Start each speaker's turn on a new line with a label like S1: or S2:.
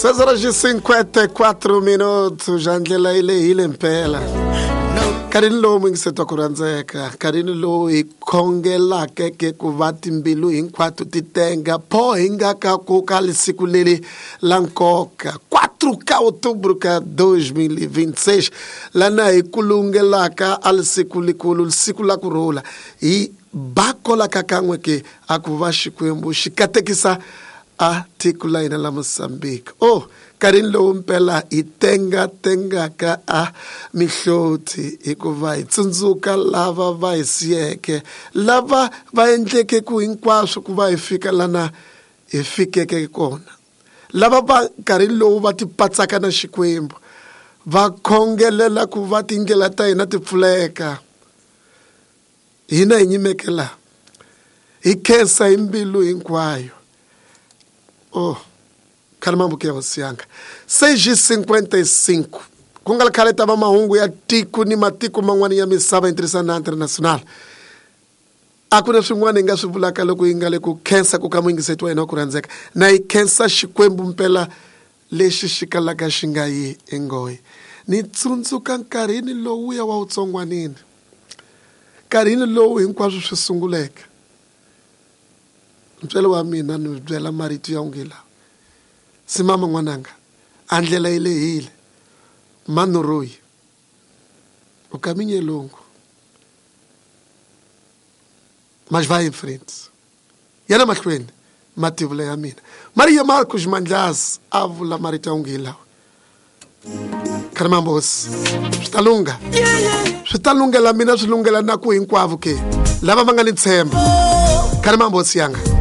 S1: 6h54 minutos ja ndlela yi lehile mpela nkarhini lowu muyingiseti ku rhandzeka nkarhini lowu hi khongelaka ke ku va timbilu hinkwato ti tenga pho hi nga ka ku ka lisiku leri la nkoka 4 ka outubro ka 2026 lana hi kulungelaka a lisiku likulu lisiku la ku rhula hi bakolaka kan'we ke a ku va Xikwembu xi katekisa a tiko la hina la Mozambique. Oh, nkarhini lowu mpela hi tenga-tengaka a mihloti hikuva hi tsundzuka lava va hi siyeke, lava va endleke ku hinkwaswo ku va hi fika lana hi fikeke kona, lava va nkarhini lowu va tipatsaka na Xikwembu, va khongelela ku va tindlela ta hina ti pfuleka. Hina hi nyimeke laha hi khensa hi mbilu hinkwayo. Oh, khale mambuke ya hosi yanga. 6:55 ku nga ri khale ta va mahungu ya tiko ni matiko man'wana ya misava hi ntirhisano na international. A ku na swin'wana hi nga swi vulaka loko hi nga le ku khensa ku ka muyingiseti wa hina wa ku rhandzeka. Na hi khensa Xikwembu mpela lexi xi kalaka xi nga yi enghohe. Ni tsundzuka nkarhini lowuya wa vutsongwanini. Nkarhini lowu hinkwaswo swi sunguleke, ntswele wa mina ni byela marito ya onge lawa, Simama n'wananga, a ndlela yi lehile, Manoroyi, o caminho é longo, mas vai em frente. Yana mahlweni, mativula ya mina. Maria Marcos Mandlasi a vula marito ya onge lawa. Khalimambosi, swi ta lungha. Swi ta lunghela mina swi lunghela na ku hinkwavo ke lava va nga ni ntshembo. Khalimambosi yanga.